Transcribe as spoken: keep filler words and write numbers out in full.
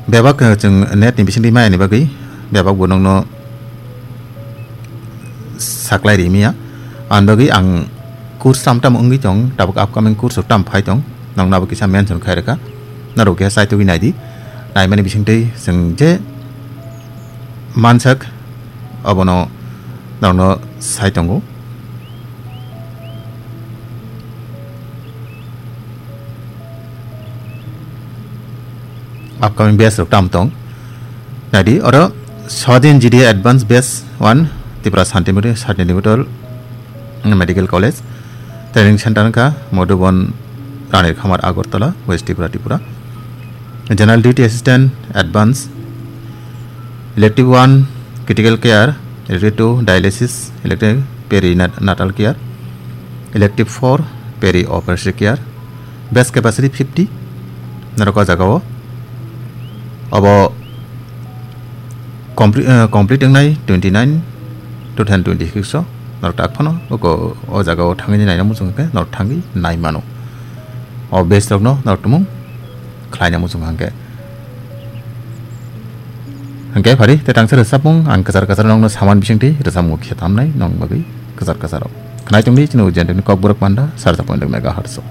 Bebak, eh, chwng net ni bisingtwi maya ni bagwi bebak bo nokno saklai ri maya. Ang bagwi ang course tam tam wngwi tong, tabuk upcoming course rok tam phai tong, nokno abo kisa mention khai rwkha. Norok kisa chaitugwi naidi, naimani bisingtwi chwng je mansak abono norokno sai tongo. Upcoming batch rok tam tong. Naidi oro Swadhin G D A Advanced Batch one, Tripura Shanti Mori-, Shanti Niketan Medical College. Training center wngkha Madhuban Ranir Khamar, Agartala, West Tripura, Tripura. General Duty Assistant Advance. Elective one, Critical Care. Elective two, Dialysis. Elective Perinatal Care. Elective four, Peri Obstetric Care. Batch capacity fifty. Norok o jaga o obo compre-, eh, complete wngnai twenty nine two thousand twenty six o. Norok tak phano oko o jaga o thangwi naina muchung khe norok thangwi nai mano. O batch rokno norok tumung khlaina muchung hangkhe. Hangkhe phari te tangsa rwchapmung ang kwchar kwchar nokno saman bisingtwi rwchapmung khe tamnai nong bagwi kwchar kwcharo. Khnai tongdi chini Ujjayantini Kokborok Panda sarsa point megahertz o.